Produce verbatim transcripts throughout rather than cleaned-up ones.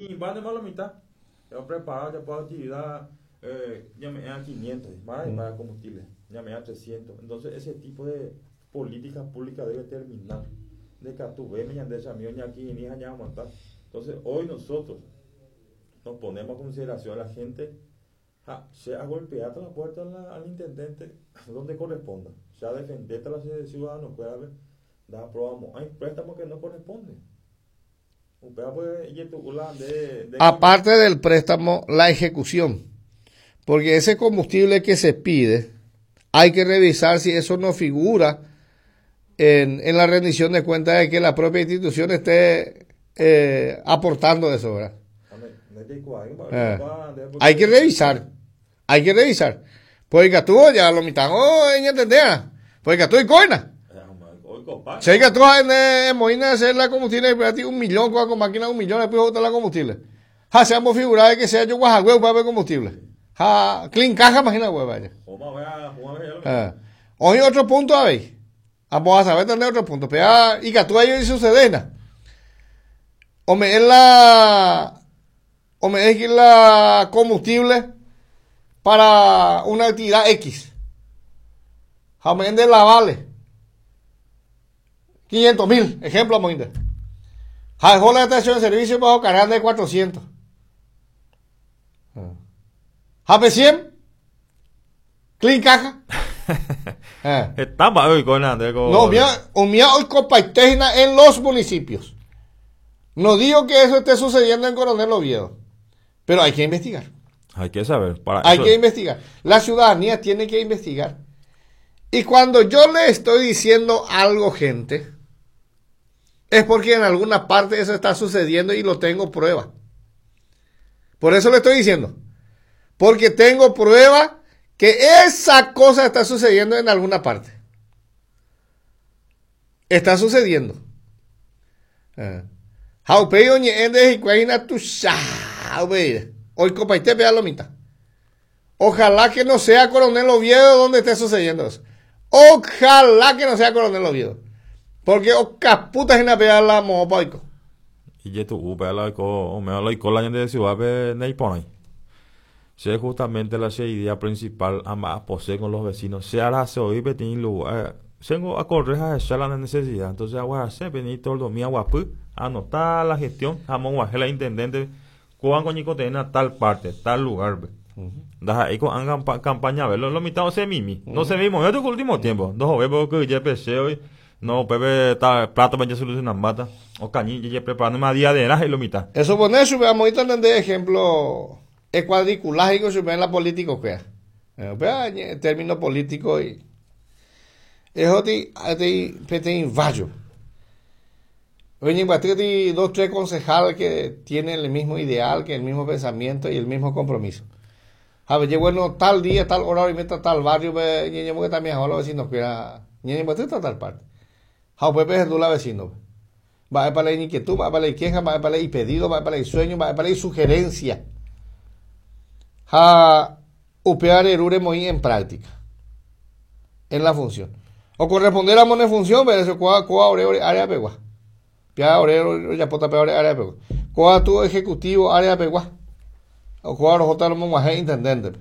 Va de la mitad. Ya preparado ya para actividad, eh, ya me dan quinientos, más mm. para combustible, ya me dan trescientos. Entonces ese tipo de política pública debe terminar. De que tú ves, entonces hoy nosotros nos ponemos a consideración a la gente, ja, se ha golpeado la puerta la, al intendente donde corresponda, se ha defendido a los ciudadanos, puede haber, da aprobamos, hay préstamos que no corresponden. Aparte del préstamo, la ejecución. Porque ese combustible que se pide, hay que revisar si eso no figura en, en la rendición de cuentas de que la propia institución esté eh, aportando eso, ¿verdad? Eh, hay que revisar, hay que revisar. Porque tú ya lo mitad, oh, entender, porque tú y coina. Se que tú en Moina hacer la combustible, un millón con máquina un millón, después botar la combustible. Ja, seamos figurados que sea yo guajagüe para ver combustible. Ja, clean caja, imagina hueva vaya. Hoy otro punto, a ver. Vamos a saber tener otro punto. Pero y que tú ahí sucede. O me es la o me es la combustible para una actividad X. Ja, me de la vale. quinientos mil, ejemplo, Moinde. Dejó la estación de servicio bajo cargar de cuatrocientos. Jape cien. Clean caja. eh. Estaba hoy con No, mía, o mía hoy copa en los municipios. No digo que eso esté sucediendo en Coronel Oviedo, pero hay que investigar. Hay que saber. Para hay eso. que investigar. La ciudadanía tiene que investigar. Y cuando yo le estoy diciendo algo, gente, es porque en alguna parte eso está sucediendo y lo tengo prueba. Por eso le estoy diciendo. Porque tengo prueba que esa cosa está sucediendo en alguna parte. Está sucediendo. Ojalá que no sea Coronel Oviedo donde esté sucediendo eso. Ojalá que no sea Coronel Oviedo. Porque o caputa en la pega la mopa. Y ya tú, la o me la la gente de ciudad pe pone. Si justamente la idea principal ama posee con los vecinos, se hará se oí petín lugar, tengo a correr a echar la necesidad. Entonces agua se venir todo el domingo agua anotar la gestión, jamón la intendente, cuán coñico tiene tal parte, tal lugar. Da ahí con campaña verlo, lo mitad no se mimi, no se mimo, yo tengo último tiempo, dos veo que ya empecé hoy. No, Pepe está plato para solucionar mata. O cañí, ya preparando más día de y lo mitad. Eso pone su veamos de ejemplo es cuadriculágico se ve en la política que es. Término político y es otro vallo. Oye, en dos, tres concejales que tienen el mismo ideal, que el mismo pensamiento y el mismo compromiso. A ver, bueno, tal día, tal hora, y meta tal barrio, que también ahora los vecinos que era, tal parte. Ja, pues la vecino. Va para la inquietud, va para la queja, va para el pedido, va para el sueño, va para la sugerencia. Ja, upear erure muy en práctica. En la función. O corresponder a en función, pero eso coa coa ore área pegua. Pia ore ya pota pe área pegua. Coa tu ejecutivo área pegua. O coa ro mo intendente.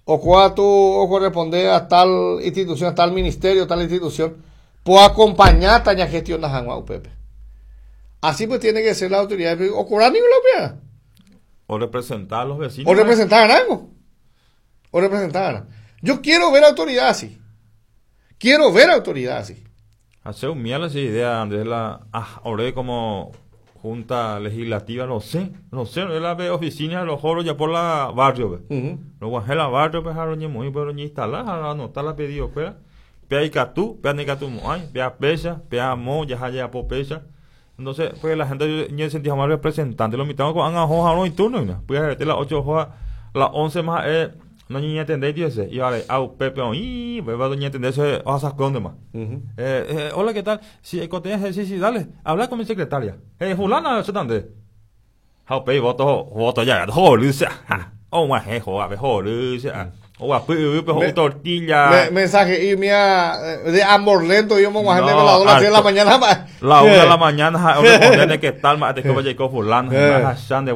O coa tu o corresponde a tal institución, a tal ministerio, tal institución. Puedo acompañar a gestión de U P P. Así pues tiene que ser la autoridad. O cobrar ninguna. O representar a los vecinos. O representar a algo. O representar a Yo quiero ver autoridad así. Quiero ver autoridad así. Hace un miel esa idea, Andrés, la ah, ahora como junta legislativa, no sé, no sé, no es la oficina de los joros ya por la barrio, uh-huh. Los guajelas barrio, pues, a los muy pero ni instalar, anotar la pedido, pues. Pea Icatú, pea Nicatú Moay, pea Pesa, pea Mo, ya ya po Pesa. Entonces, pues la gente ya sentía más representante, lo mitad con anga hoja no y turno, ¿no? Pues a las ocho hojas, las once más eh no ni entender dice, y ahora au Pepe y pues va doña entender eso, o sea, ¿dónde más? Eh, eh, hola, ¿qué tal? Sí, sí, sí, dale, habla con mi secretaria. Eh, fulana, ¿eso dónde? Jau pe voto, voto ya, joder, oh, más, eh, joder, joder, Oguapy yvýpe ho'u tortilla. Mensaje y mía de amor lento yo me voy a las dos de la mañana. La una de la mañana, ha responde qué tal, ma te ko jaiko fulano, ha de